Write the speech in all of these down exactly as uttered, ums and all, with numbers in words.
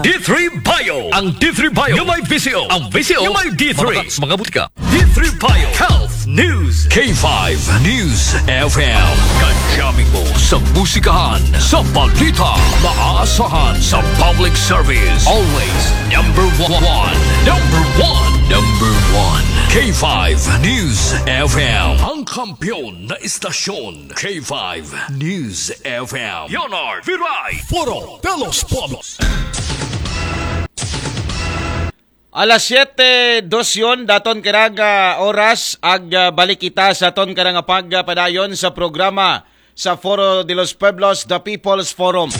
D three Bio. Ang D three Bio yung may V C O. Ang V C O yung may D three. Mabaka sa mga butika. D three Bio Health News. K five News F M. Kadyamin mo sa musikahan, sa balita, maasahan sa public service. Always number one. Number one. Number one. K five News F M. Ang kampiyon na istasyon. K five News F M. Leonard Viray. Foro de los Pueblos. Alas siyete dos yon daton karang, ah, oras ag, ah, balik kita sa aton karang pagpadayon sa programa sa Foro de los Pueblos, The People's Forum.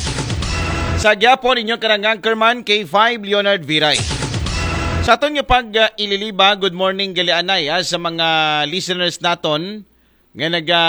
Sa gyapon, inyong karang anchorman, K five Leonard Viray. Sa aton nga pag, ah, ililiba, good morning gali anay, ah, sa mga listeners naton nga naga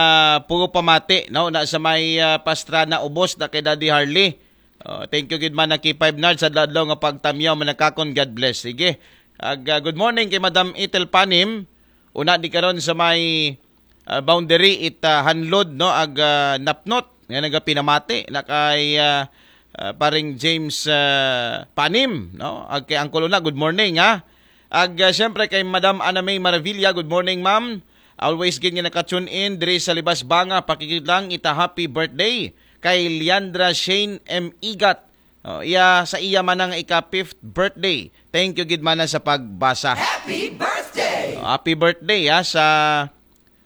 puro pamati, no, na sa may, ah, Pastrana, ubos na kay Daddy Harley. Oh, thank you gid man na K five Nard sa adlaw nga pagtamyaw, manakakon, God bless. Sige. Ag, ah, good morning kay Madam Ethel Panim. Una di karon sa may, ah, boundary it, ah, Hanlod, no, ag, ah, Napnot nga nagapinamati na kay, ah, ah, paring James, ah, Panim, no? Ag kay Uncle Una, good morning, ha. Ag, ah, siyempre kay Madam Ana May Maravilla, good morning, ma'am. Always gid nga naka-tune in diri sa Libas Banga, pakikit lang ita happy birthday kay Leandra Shane M Igat. Oh, iya sa iya manang ika fifth birthday. Thank you gid mana sa pagbasa. Happy birthday! Oh, happy birthday, ha, sa,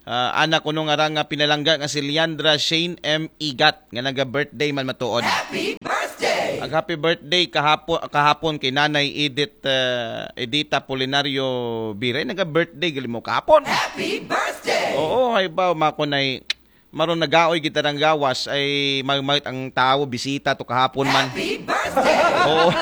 ah, anak kuno nga rang nga pinalangga nga si Leandra Shane M Igat nga naga-birthday man matuod. Happy birthday! Ag happy birthday kahapon, kahapon kay Nanay Edith, ah, Edita Polinario Biray, naga-birthday gali mo kahapon. Happy birthday! Oo, hay ba, makunay maron nagaoy kita ng gawas ay magmagit ang tao bisita to kahapon man. Happy birthday! Oo.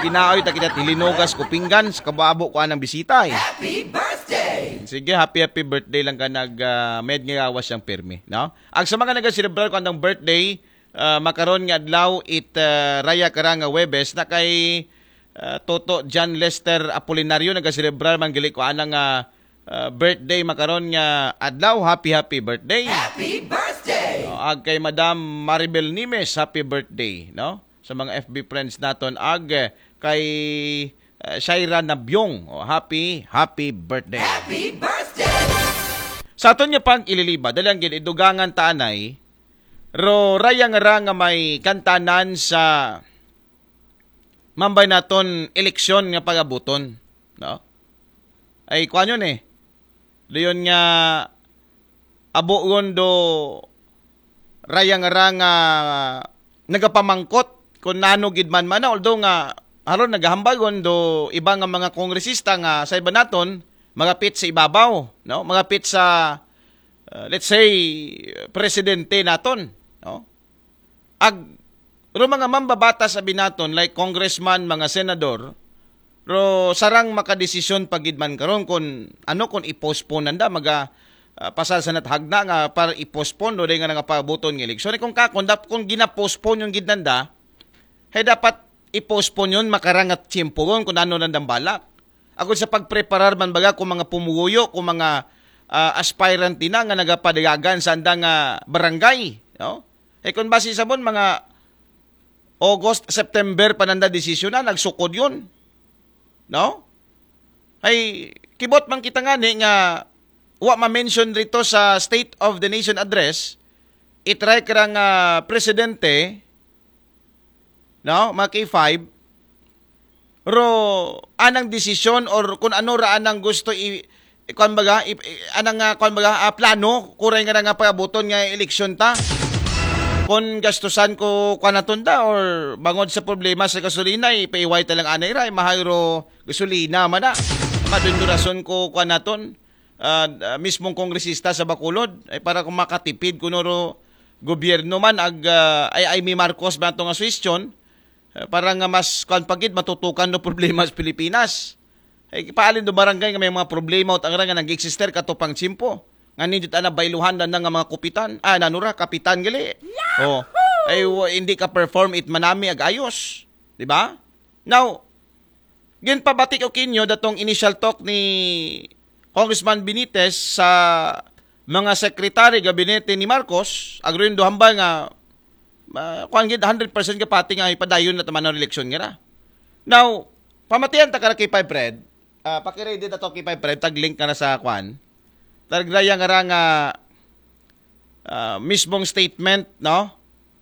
Ginaoy ta kita tilinugas ko pinggan sa kababo ko anang bisita eh. Happy birthday! Sige, happy happy birthday lang ka nag, ah, med nga gawas yang pirmi, no? Ag sa mga nagaselebrar ko anang birthday, ah, makaron nga adlaw it, ah, raya karang nga Webes na kay, ah, Toto John Lester Apolinario nagaselebrar man gali ko anang, ah, ah, birthday makaron nga adlaw. Happy happy birthday. Happy birthday! Oh, ag kay Madam Maribel Nimes, happy birthday, no? Sa mga F B friends naton ag, eh, kay, eh, Shaira Nabyong. Oh, happy happy birthday. Happy birthday! Sa aton nga pag ililiba, dali ang gid idugangan ta anay, ro raya nga ra nga may kantanan sa mambay naton eleksyon nga pagabuton, no? Ay kuan yun eh. Dayon nga abo ron do raya nga ra nga nagapamangkot kung nano gid man mana, although nga haron nagahambal ron do iba nga mga kongresista nga sa iba naton magapit sa ibabaw, no? Magapit sa, uh, let's say, presidente naton, no? Ag ro mga mambabatas abi naton like congressman, mga senador, ro sarang makadesisyon pa gid man karon kung ano, kung i-postpone nanda, maga, ah, pasal sa natahagna nga para i-postpone do day nga nangapabuton nga eleksyon. Eh, kung kakon dap kung gina-postpone yung gid nanda, hay dapat i-postpone yun, makarangat tiyempo ron kung ano nandang balak. Ako sa pagpreparar man baga kung mga pumuguyo, kung mga, ah, aspirant din na nga nagapadayagan sa andang, ah, barangay, no? Eh, kung base sa mon, mga August, September pa nanda desisyon na, nagsukod yun. No? Ay, kibot man kita nga ni nga wa ma-mention rito sa State of the Nation Address, itry ka nga presidente, no, mga K five, ro anang desisyon or kung ano ra anang gusto i, i kuan baga, i, i, anang, ah, kuan baga, ah, plano, kuray nga nga pagabuton nga eleksyon ta. Kung gastusan ko kuan naton ta or bangod sa problema sa gasolina, ipaiway ta lang anay ra, ay mahal ro gasolina man na. Madundurason ko kuan naton, ah, ah, mismong kongresista sa Bacolod, ay para kung makatipid kuno ro gobyerno man ag, ah, ay, ay mi Marcos ba to nga suwestyon, eh, para nga mas kuan pa gid matutukan no problema sa Pilipinas. Eh, paalin do barangay nga may mga problema o tangra nga nag-exister kato pang tiyempo. Nga ninyo ana bailuhan na nga mga kupitan. Ah, nanura, kapitan gali. Oh. Ay, wa- hindi ka perform it manami ag ayos. Di ba? Now, ginpabati ko kinyo datong initial talk ni Congressman Benitez sa mga secretary gabinete ni Marcos, agruin do hambal nga Ah, kuan gid, hundred percent ka pati nga ipadayon na taman ang eleksyon nga ra. Now, pamatian ta kara K five Red. Ah, paki-ready na to K five Red, tag link ka na sa kuan. Tag raya nga ra nga, ah, mismong statement, no?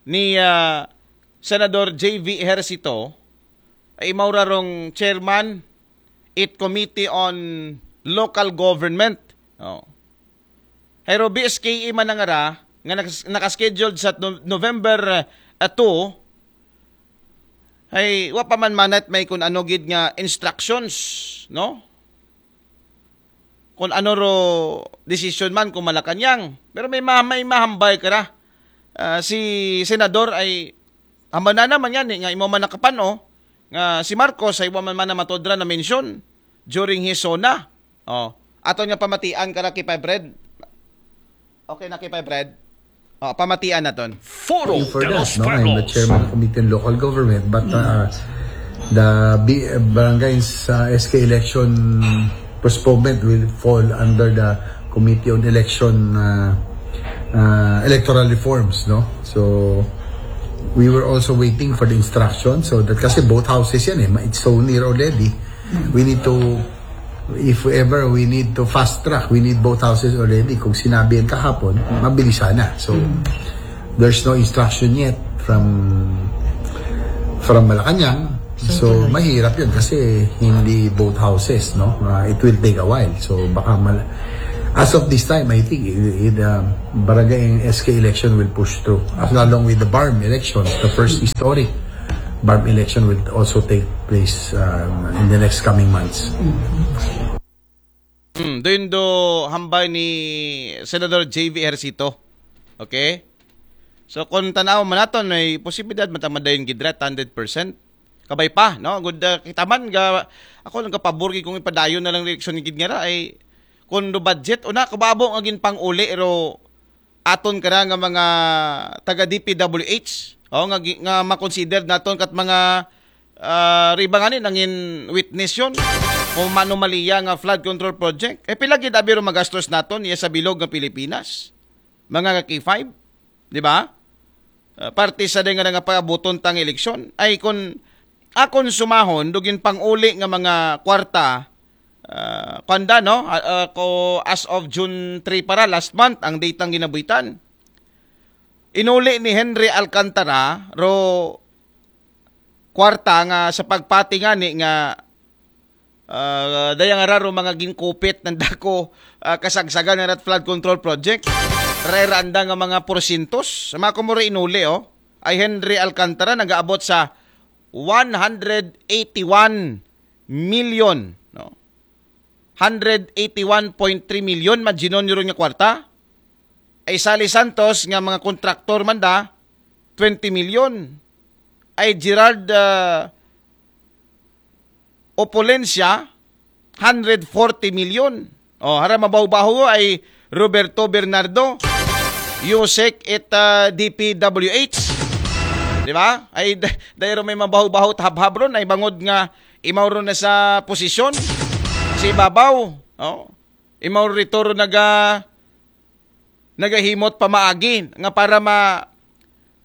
Ni, ah, Senador J V Ejercito, ay mao ra rong chairman it Committee on Local Government. Oh. Pero B S K E man ang ara nga nakas- nakascheduled sa No- November, ah, two, ay wa pa man manat may kun ano gid nga instructions, no? Kung ano ro decision man kung Malacañang. Pero may ma- may mahambal ka ra. Ah, si Senador ay hambal na naman yan eh, nga imo man nakapan-o nga si Marcos ay wa man man na matodra na mention during his SONA. Oh, aton nga pamatian ka ra K five Red. Okay na K five Red. Oh, pamatian naton. Foro You for de that, los no? I'm the Pueblos. Chairman of the Committee on Local Government, but uh, the B- barangay sa S K election postponement will fall under the Committee on Election uh, uh, Electoral Reforms, no? So we were also waiting for the instruction. So that kasi both houses yan eh, it's so near already. We need to, if ever we need to fast track, we need both houses already. Kung sinabi yan kahapon, mabilis sana. So there's no instruction yet from from Malacañang. So mahirap yun kasi hindi both houses, no? Uh, it will take a while. So baka mal as of this time, I think it, it, um, barangay S K election will push through along with the BARMM election, the first historic BARMM election will also take place um, in the next coming months. Hmm, doon do hambal ni Senador J V Ejercito. Okay? So kung tanaw man naton, may posibilidad matamadayon gid ra hundred percent. Kabay pa, no? Good, uh, kita man ga ako nagkapabor gid kung ipadayon na lang eleksyon gid nga ra ay kung do budget una kababo nga ginpang-uli ro aton kara nga mga taga D P W H, oh, nga gi- nga makonsider naton kat mga ah, riba nga ni nangin witness yon kung manomaliya nga flood control project. Eh pila gid abi ro magastos naton iya sa bilog nga Pilipinas? Mga ka K five, di ba? Ah, parte sa day nga nga paabuton tang eleksyon ay kun akon sumahon dugin pang-uli nga mga kwarta, ah, kanda, no? Ah, ah, ko as of June three para last month ang datang ginabuhitan. Inuli ni Henry Alcantara ro kwarta nga sa pagpati ngani nga ah, dayang ara ro mga ginkupit ng dako ah, kasagsagan nga rat flood control project. Rera anda nga mga porsintos. Sa mga kumura inuli, oh. Ay Henry Alcantara nagaabot sa one hundred eighty-one million, no? Hundred eighty-one point three million majinon euro nga kwarta. Ay Sally Santos nga mga kontraktor man da, twenty million. Ay Gerald ah, Opulencia, hundred forty million. Oh, hara mabaho-baho ay Roberto Bernardo, Yusek at ah, D P W H. Di ba? Ay da- dayro may mabaho-baho at habhab ron ay bangod nga imaw ron na sa posisyon si Babaw. Oh. Imaw rito ron naga nagahimot pamaagi nga para ma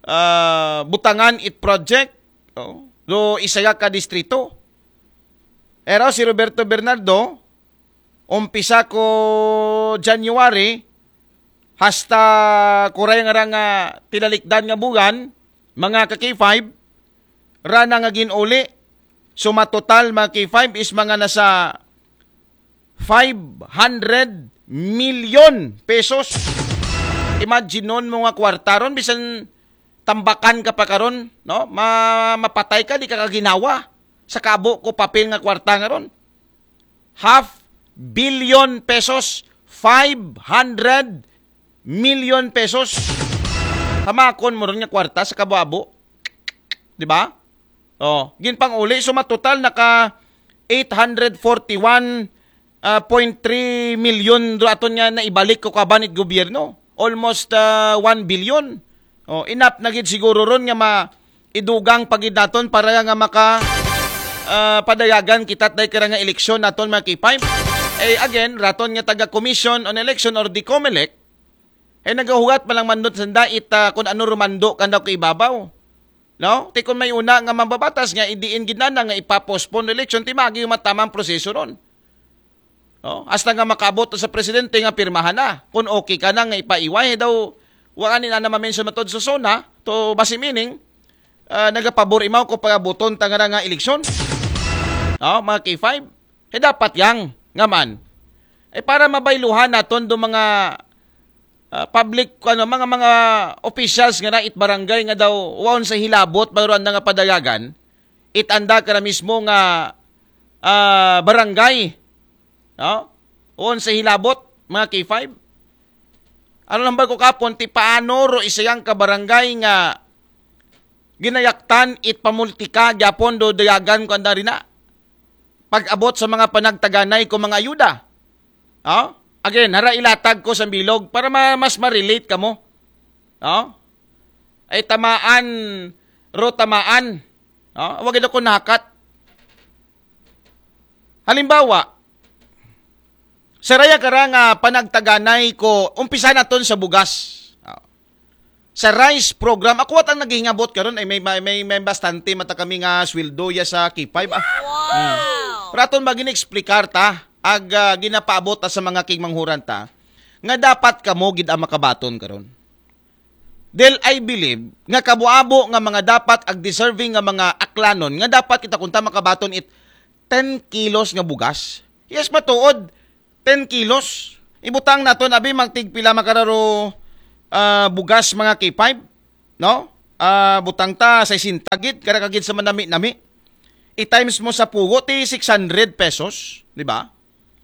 ah, butangan it project. Oh. Do isaya ka distrito. Pero si Roberto Bernardo, umpisa ko January, hasta kuray nga ra nga tilalikdan nga buwan, mga ka K five, rana nga ginuli. So matotal mga K five is mga nasa five hundred million pesos. Imagine nun mo nga kwarta ron, bisan tambakan ka pa karon, no? Ma mapatay ka, di ka kaginawa. Sa kabo ko papel nga kwarta nga ron. Half billion pesos, five hundred million pesos. Tamakon mo ron nga kwarta sa kabo-abo. Di ba? Oh, ginpang-uli, so matotal naka eight hundred forty-one ah, point three million do aton nga naibalik ko kabanit gobyerno. Almost ah, one billion. Oh, enough na gid siguro ron nga ma idugang pa gid naton para nga maka ah, padayagan kita tay kara nga eleksyon naton mga K five. Eh again, raton nga taga Commission on Election or the COMELEC, Ay nagahugat pa lang mandot sanda ita kung ano rumando kanda ko ibabaw. No? Ti kung may una nga mambabatas nga idiin gid nana nga ipapostpone election, ti magi matamang proseso ron. No? Hasta nga makaabot sa presidente nga pirmahan na. Kung okay ka na nga ipaiway daw, wa ni na mamention matod sa SONA, to basi meaning, ah, nagapabor imaw ko pagabuton ta nga nga eleksyon. No? Mga K five. Eh dapat yang, nga man. Eh para mabayluhan naton do mga ah, public, ano, mga, mga officials nga na it barangay nga daw waon sa hilabot, bayroan na nga padayagan, it anda ka na mismo nga ah, barangay, no? Waon sa hilabot, mga K five. Ano lang ba ko kapon, ti paano ro isayang ka barangay nga ginayaktan it pamultika, gyapon do dayagan ko anda rina? Pag-abot sa mga panagtaganay ko mga ayuda. Oh? Again, hara ilatag ko sa bilog para ma- mas ma-relate kamo. Oh? Ay tamaan, ro tamaan. Oh? Wag ito ko nakat. Halimbawa, saraya ka ra nga panagtaganay ko, umpisa naton sa bugas. Oh. Sa rice program, ako at ang naghihingabot karon ay may, may, may, may bastante mata kami nga sweldo ya sa K five. Ah. Wow! Raton ba gina-explicar ta, ag ah, ginapaabot ta sa mga kigmanghuran ta, nga dapat kamo gid ang makabaton karon. Dahil I believe nga kabuabo nga mga dapat ag deserving nga mga aklanon nga dapat kita kunta makabaton it ten kilos nga bugas. Yes, matuod. Ten kilos. Ibutang naton abi magtigpila makararo ah, bugas mga K five, no? Ah, butang ta sesenta gid, kara ka gid sa manami-nami. I-times mo sa pugo ti six hundred pesos, di ba?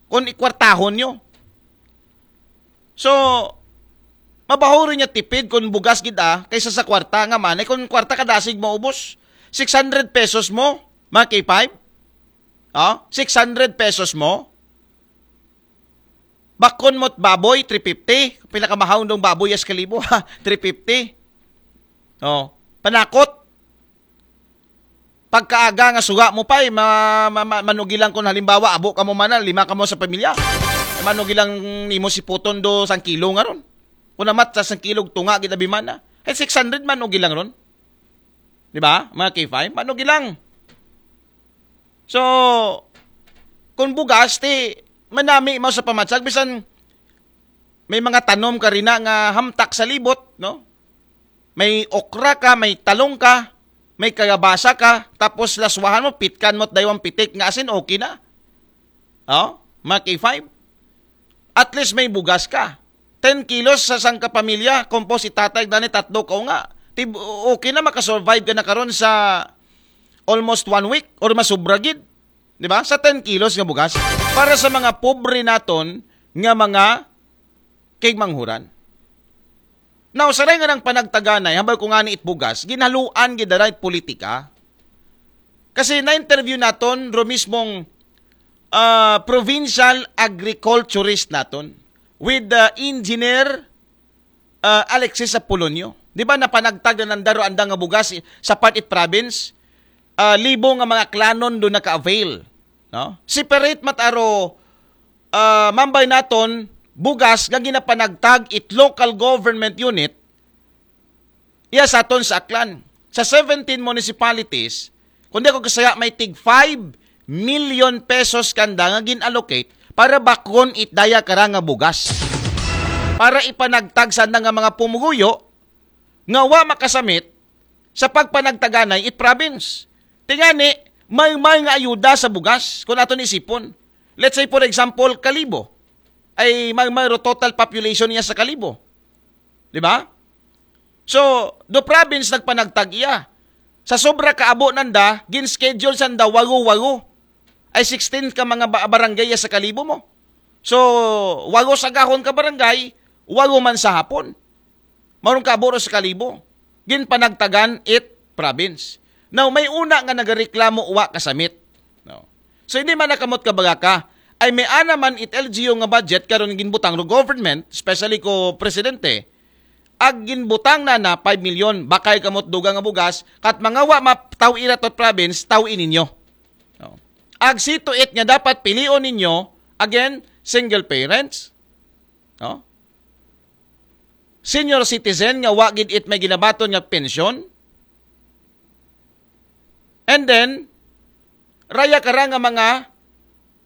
Kung ikwartahon nyo. So, mabahuri niya tipid kung bugas gid ah, kaysa sa kwarta nga man. Eh, kung kwarta kadasig maubos, six hundred pesos mo, mga K five? Oh, six hundred pesos mo? Bakon mo't baboy, three fifty. Pila ka mahaw dong baboy as kalibo, ha? Three fifty. Oh, panakot. Pagkaaga nga suga mo pa'y ma, ma, ma, manugilang kun halimbawa, abo ka mo mana, lima ka mo sa pamilya. Manugilang nimo si puton do sang kilo nga ron. Kung amat sa sang kilog tunga, gid abi mana. Eh, six hundred manugilang ron. Di ba? Mga K five, manugilang. So, kung bugas, ti manami mo sa pamatsag, bisan may mga tanom ka rina nga hamtak sa libot, no? May okra ka, may talong ka, may kagabasa ka, tapos laswahan mo, pitkan mo, daywang pitik nga asin, okay na. Oh, mga K five. At least may bugas ka. Ten kilos sa sangka pamilya, kompos itatay dani tatlo ka nga. Ti-, okay na, makasurvive ka na karon sa almost one week or masubra gid. Di ba? Sa ten kilos nga bugas. Para sa mga pobre naton nga mga kigmanghuran. Now, saray nga nang panagtaganay, hambal ko nga ni it bugas, ginhaluan gid dara it politika. Kasi na-interview naton ro mismong ah, provincial agriculturist naton with the engineer ah, Alexis Apolonio. Di ba napanagtag na nandaro anda nga bugas i- sa part it province? Ah, libo nga mga klanon do naka-avail. No? Separate mataro ah, mambay naton bugas nga ginapanagtag it local government unit iya sa aton sa Aklan. Sa seventeen municipalities, kundi ako kasaya may tig five million pesos kanda nga gin-allocate para bakon it daya kara nga bugas. Para ipanagtag sa nga mga pumuguyo nga wa makasamit sa pagpanagtaganay it province. Tingani, may may nga ayuda sa bugas kung aton isipon. Let's say for example, Kalibo. Ay may may ro total population niya sa Kalibo. Di ba? So, do province nagpanagtag iya. Sa sobra ka abo nanda, gin-schedule sanda wago-wago. Ay sixteen ka mga ba- barangay sa Kalibo mo. So, wago sa gahon ka barangay, wago man sa hapon. Maron ka abo ro sa Kalibo. Ginpanagtagan it province. Now, may una nga nagareklamo wa kasamit. No. So, hindi man nakamot ka baga ka, ay may ana man it L G U nga budget karon ginbutang ro government, especially ko presidente, ag ginbutang na na five million, bakay kamot dugang nga bugas, kat mga wa mataw ira tot province, taw ininyo. No. Ag see to it nga dapat pilion ninyo, again, single parents. No? senior citizen nga wa gid it may ginabaton nga pensyon. And then, raya kara nga mga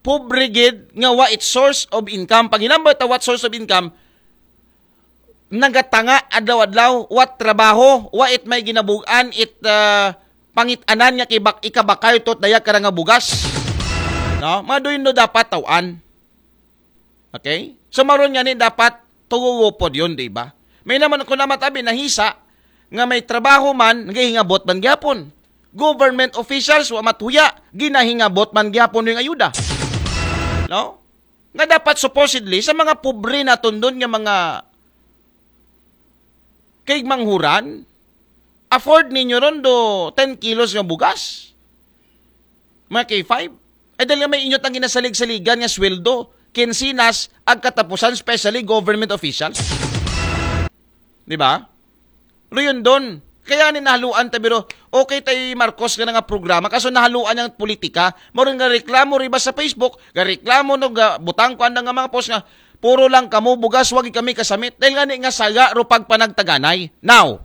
pobre gid nga wa it source of income. Pag hinambal ta what source of income, nagatanga adlaw-adlaw, wa trabaho, wa it may ginabugan, it ah, pangitanan nga kibak ikabakay tot daya kara nga bugas. No? Maduy no dapat tawan. Okay? So maron nga ni dapat tugugo pod yun, di ba? May naman ako naman tabi nahisa nga may trabaho man, nagahingabot man gyapon. Government officials, wa matuya, ginahingabot man gyapon yung ayuda. No? Nga dapat supposedly sa mga pobre na tundon nga mga kay manghuran, afford ninyo ron do ten kilos nga bugas? Mga K five? Ay dahil nga may inyo tang ginasalig-saligan nga sweldo, kinsinas, ag katapusan, especially government officials. Di ba? Riyon doon. Kaya ni nahaluan ta biro, okay tay Marcos nga nga programa, kaso nahaluan niyang politika, mo rin nga reklamo riba sa Facebook, nga reklamo no, nga butang ko anda nga mga post nga, puro lang kamo bugas, wag kami kasamit. Dahil nga ni nga saga ro pagpanagtaganay. Now,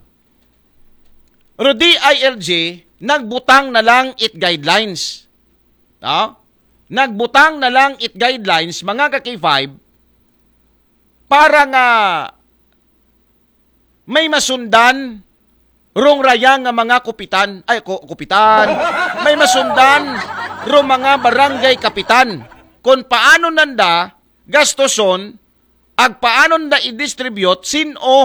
ro D I L G, nagbutang na lang it guidelines. No? Nagbutang na lang it guidelines, mga ka K five, para nga may masundan rong raya nga mga kupitan, ay, ku- kupitan, may masundan rong mga barangay kapitan kung paano nanda gastoson, ag paano nanda i-distribute, sin-o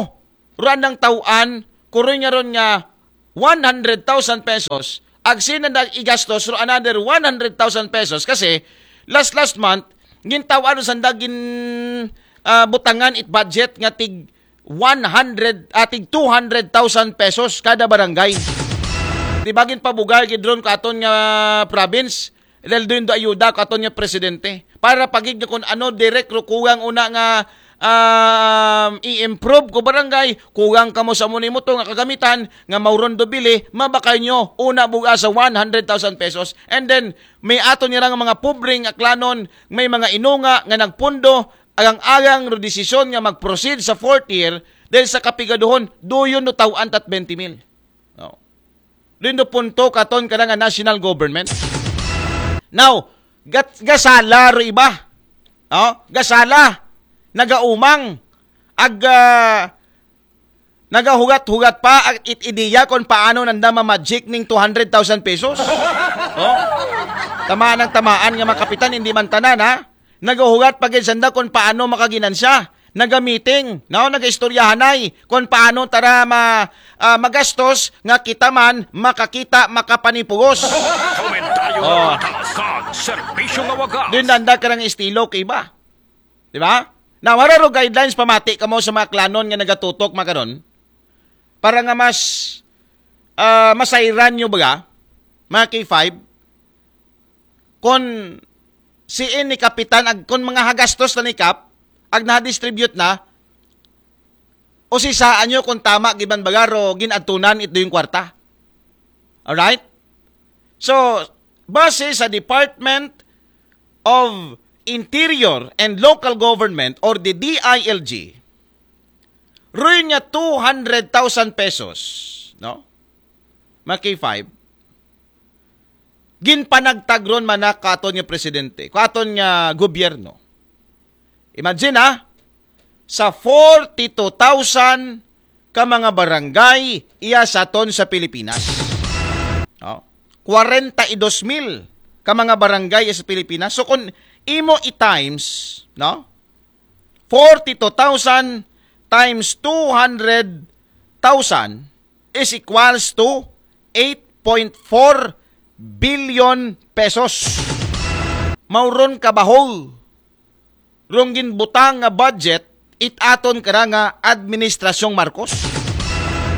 ro andang tauan, kuroy nga ron nga one hundred thousand pesos, ag sin-o nanda igastos ro another one hundred thousand pesos, kasi last last month, gintaw-an sanda gin ah, butangan it budget nga tig one hundred, ah, tig two hundred thousand pesos kada barangay. Di ba ginpabugal gid ron katon nga province? Dahil doon do ayuda katon nga presidente. Para pagig nga kung ano, direct ro kugang una nga um, i-improve ko barangay, kugang kamo sa muni mo to nga kagamitan, nga mauron do bili, mabakay nyo, una buga sa one hundred thousand pesos. And then, may ato nila nga mga pobreng aklanon, may mga inunga nga nagpundo, agang-agang ro desisyon nga mag-proceed sa fourth year, dahil sa kapigaduhon, duyon no tawaan tat twenty mil. No. Duyon no punto katon ka nga national government. Now, gat, gasala ro iba. No? Gasala. Nagaumang. Ag, ah, nagahugat-hugat pa ag it ideya kung paano nanda ma-magic ning two hundred thousand pesos. Oh? Tamaan ng tamaan nga mga kapitan, hindi man tanan, ha? Nagahugat pa gid sanda kung paano makaginansya. Naga-meeting, no? Naga-istoryahanay kung paano tara ma, ah, magastos nga kita man makakita, makapanipugos. Komentaryo Oh. nga patas kag serbisyo nga wagas. Din nanda ka ng estilo kay iba. Di ba? Na wala ro guidelines pamati kamo sa mga klanon nga nagatutok makaron para nga mas ah, masayran nyo ba, mga K five, kung siin ni kapitan, ag, kung mga hagastos na ni Kap, ag na-distribute na, o si saan nyo kung tama giban baga ro ginadtunan ito yung kwarta. Alright? So, base sa Department of Interior and Local Government or the D I L G, ruin nga two hundred thousand pesos, no? Mga K five, ginpanagtag ron man na katon nga presidente, katon nga gobyerno. Imagine, ha, sa forty-two thousand ka mga barangay iya sa aton sa Pilipinas. No? Kwarenta y dos mil ka mga barangay iya sa Pilipinas. So kung imo i-times, no? Forty-two thousand times two hundred thousand is equals to eight point four billion pesos. Mauron ka bahol rong ginbutang nga budget it aton kara nga administrasyong Marcos.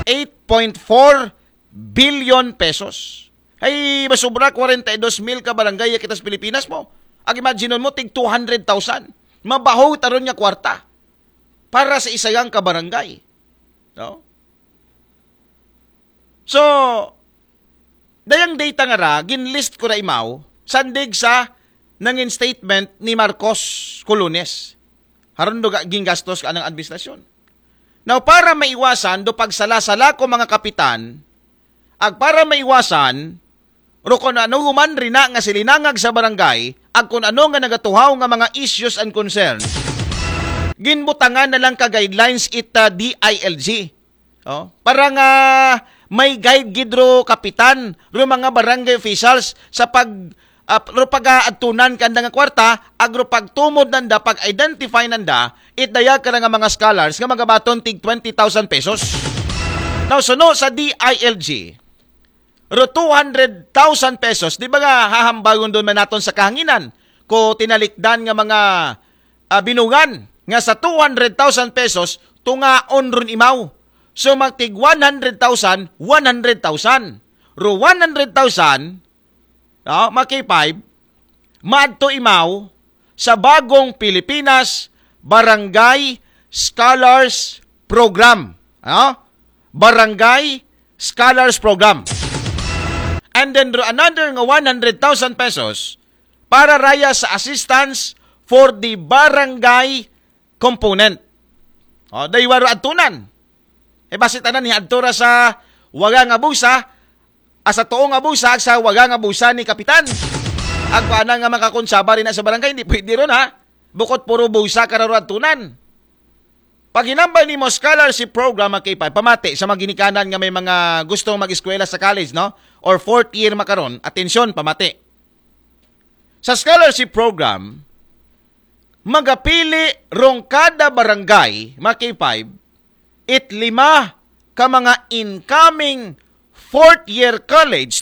Eight point four billion pesos. Ay, masubra kwarenta y dos mil ka barangay kita sa Pilipinas mo. Ag imagine mo, tig two hundred thousand. Mabaho taron nga kwarta para sa isagang ka barangay. No? So, dayang data nga ra, ginlist ko ra imaw, sandig sa nangin statement ni Marcos Colones. Haron do ga-, gingastos ka ng administrasyon. Now, para maiwasan do pagsala-sala ko mga kapitan, ag para maiwasan ro kun ano human rina nga silinangag sa barangay, ag kun ano nga nagatuhaw nga mga issues and concerns, ginbutangan na lang ka guidelines ita D I L G. Oh, para nga may guide gid ro kapitan, ro mga barangay officials sa pag ah, ro pagaadtunan kanda nga kwarta, ag ro pagtumod nanda, pag-identify nanda, it daya ka nga mga scholars nga magabaton tig twenty thousand pesos. Now, suno sa D I L G, ro two hundred thousand pesos, di ba nga hahambagon doon man naton sa kahanginan? Ko tinalikdan nga mga ah, binungan nga sa two hundred thousand pesos, tungaon ron imaw. So, magtig one hundred thousand, one hundred thousand. Ro one hundred thousand, no, mga K five, maadto imaw sa Bagong Pilipinas Barangay Scholars Program. No? Barangay Scholars Program. And then, ro another nga one hundred thousand pesos para raya sa assistance for the barangay component. O, daywa ro adtunan. E, basi tanan ni adto ra sa waga nga busa, asa tuo nga busa, ag sa waga nga busa ni kapitan. Ag paana nga makakunsaba rin na sa barangay, hindi pwede ron, ha? Bukod puro busa ka ra ro adtunan. Pag hinambal nimo scholarship program, mga K five, pamati sa mga ginikanan nga may mga gustong mag-eskwela sa college, no? Or fourth year makaron, atensyon, pamati. Sa scholarship program, magapili rong kada barangay, mga K five, it lima ka mga incoming fourth year college